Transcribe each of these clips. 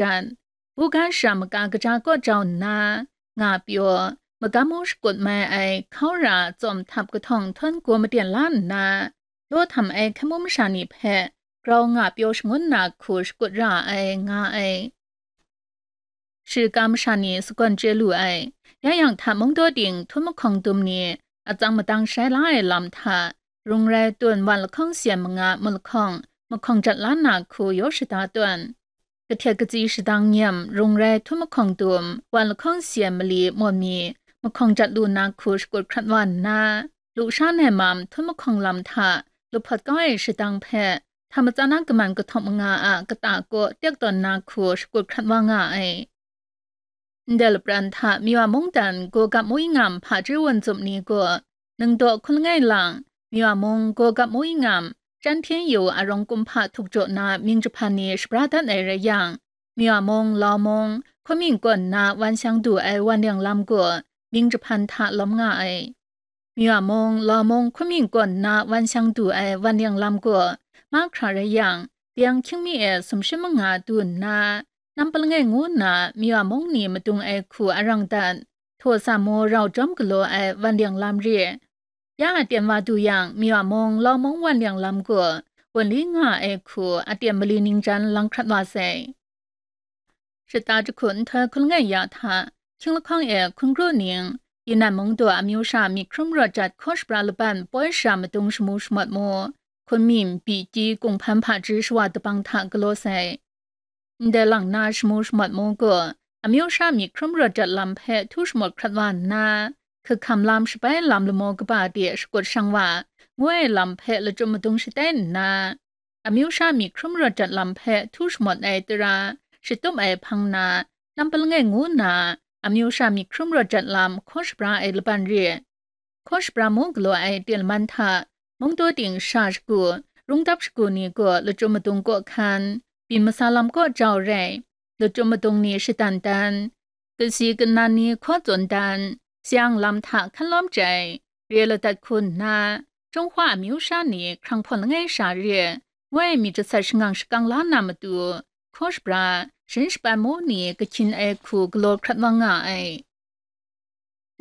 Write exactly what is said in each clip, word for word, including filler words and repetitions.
dat, bugan shara maka kaja kaw jau nna, nga pyaw, magam u shakut mai ai hkau ra tsawm htap kahtawng htawn gaw maten la nna, daw htam ai hkai mu masha ni hpe grau nga pyaw shangun na hku shakut ra ai, nga ai. Shirika masha ni sagawn chye lu ai. Ya yang hta mungdaw ting htum mahkawng dum ni atsang madang shai la ai lam hta, rung rai tun wan lahkawng syen manga mut lahkawng mahkawng jat la na hku yaw shada tawn. Kahtet katsi shadang nyem rung rai htum mahkawng dum wan lahkawng syen mali mawn mi mahkawng jat lu na hku shakut hkrat wa nna, lusha nai mam htum mahkawng lam hta lahpawt kau ai shadang hpe, hta matsan a kaman kahtawk manga a kata kaw tek tawn na hku shakut hkrat wa nga ai. Ndai lapran hta Miwa mungdan Gawgap Mawingam hpaji wun zup ni gaw, ningdaw hkun langai lang, Miwa mung Gawgap Mawingam, Chyan Hpyen Yu arawng kumhpa htuk jaw na mying jahpan ni shabra dat ai rai yang, Miwa mung, Lau mung, Hkunming kawn na wan shang du ai wan leng lam gaw mying jahpan hta lawm nga ai. Miwa mung, Lau mung, Hkunming kawn na wan shang du ai wan leng lam gaw mahkra rai yang, deng hkying mi e sumshi manga du nna, Nampa Langai ngu nna Miwa mung ni madung ai hku arang dat, htaw sa mu rau jawm galaw ai wan leng lam re. Ya aten wa du yang, Miwa mung, Lau mung wan leng lam gaw wunli nga ai hku aten mali ningjan lang hkrat wa sai. Shata jahku nhtoi hkun langai ya hta, hkying lahkawng e hkun kru ning, Yinan mung daw amyu sha myit hkrum rawt jat hkaw shabra laban poi sha madung shamu shamawt mu, Hkunming, Biki, Kunghpan hpaji shawa dabang hta galaw sai. Ndai lang na shamu shamawt mu gaw, amyu sha myit hkrum rawt jat lam hpe htu shamawt hkrat wa nna, hkahkam lam shabai lam lamaw kaba de shakut shang wa, ngu ai lam hpe lachyum madung shatai nna, amyu sha myit hkrum rawt jat lam hpe htu shamawt ai tara shatup ai hpang na, Nampa Langai ngu nna, amyu sha myit hkrum rawt jat lam hkaw shabra ai laban re. Hkaw shabra mu galaw ai ten laman hta, mungdaw ting sha shagu, rungdap shagu ni gaw lachyum madung kaw hkan, byin masa lam kaw jau rai, lachyum madung ni shadan dan, kasi kanan ni hkaw tsun dan, sayang lam hta hkan lawm chyai, re ladat hku nna, Jinghwa amyu sha ni hkrang hpawn langai sha re, ngu ai myit jasat shangang shakang la na matu, hkaw shabra, sharin shapan mu ni kahkyin ai hku galaw hkrat wa nga ai.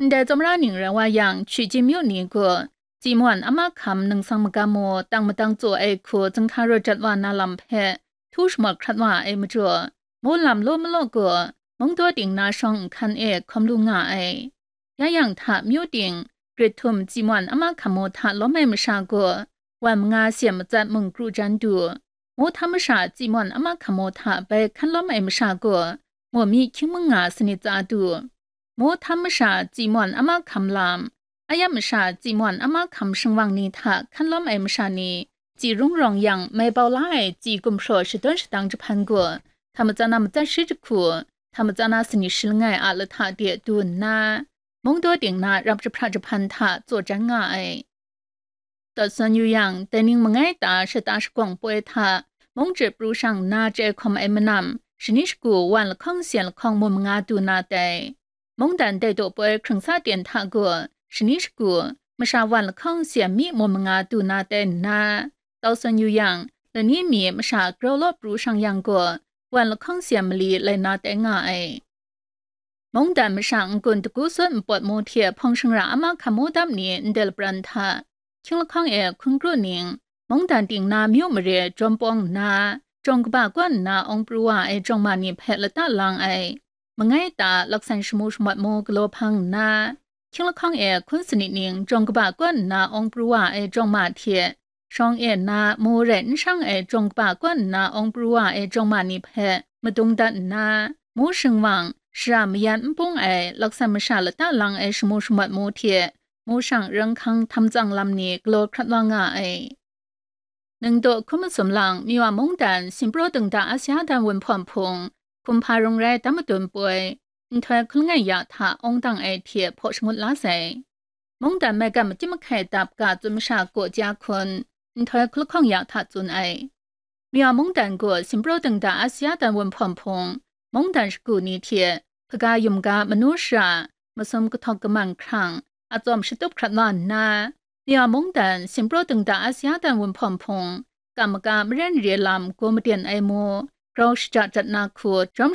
Ndai tsawmra ning rai wa yang, Chyeju myu ni gaw, Tsi Mawn Ama Hkam ningsang magam mu tang matang tsaw ai hku zinghka rawt jat wa na lam hpe htu shamawt hkrat wa ai majaw, mu lam law malaw gaw, mungdaw ting na shawng nhkan e hkawm lu nga ai. Ya yang hta myu ting, grit htum Tsi Mawn Ama Hkam mu hta lawm ai masha gaw, wan manga syen matsat mung kru jan du, mu htam masha Tsi Mawn Ama Hkam mu hta bai hkan lawm ai masha gaw, mu mi hkying manga sanit tsa du, mu htam masha Tsi Mawn Ama Hkam lam, ayam masha Tsi Mawn Ama Hkam shingwang ni hta hkan lawm ai masha ni, Tsi Rung Rawng yang mai bau la ai Tsi gumhpraw shadawn shadang jahpan gaw, hta matsan na matsat shi jahku, hta matsan na sanit shi langai a lahta de du nna, mungdaw ting na rap jahpra jahpan hta tsaw jan nga ai. Taw san yu yang, dai ning mangai ta shata shagawng poi hta, mung jip pru shang na chye hkawm ai manam, shani shagu wan lahkawng syen lahkawng mu manga du na tai. Mungdan dai daw poi hkrung sa ten hta gaw, shani shagu, masha wan lahkawng syen mi mu manga du na tai nna, taw san yu yang, lani mi masha grau law pru shang yang gaw, wan lahkawng syen mali lai na tai nga ai. Mungdan masha n-gun dagu sut npawt mu hte hpawng shingra ama hkam mu dap ni ndai lapran hta, hkying lahkawng e hkun kru ning, mungdan ting na myu mare jawm pawng nna, jawng kaba kaw nna awng pru wa ai jawng ma ni hpe lata lang ai, mangai ta laksan shamu shamawt mu galaw hpang nna, hkying lahkawng e hkun sanit ning jawng kaba kaw nna awng pru wa ai jawng ma hte, shawng e na mu rai n shang ai jawng kaba kaw nna awng pru wa ai jawng ma ni hpe madung dat nna, mu shingwang, shara mayan n bung ai laksan masha lata lang ai shamu shamawt mu hte, mu shang ranghkang htam tsang lam ni galaw hkrat wa nga ai. Ningdaw hkun masum lang, Miwa mungdan Sinpraw Dingda Asia dan wunhpawng hpung, hkum hpa rung rai dam madun poi, nhtoi hkun langai ya hta awng dang ai hte hpaw shangut la sai. Mungdan maigan makyit mahkai dap ga tsun masha gaw ja hkun, nhtoi hkun lahkawng ya hta tsun ai. Miwa mungdan gaw Sinpraw Dingda Asia dan wunhpawng hpung, mungdan shagu ni hte, hpaga yum ga manu shara, masum kahtawk kamang hkrang, atsawm shatup hkrat wa nna, Miwa mungdan Sinpraw Dingda Asia dan wunhpawng hpung, kam maga maren re lam gaw maden ai mu, grau shaja jat na hku, jawm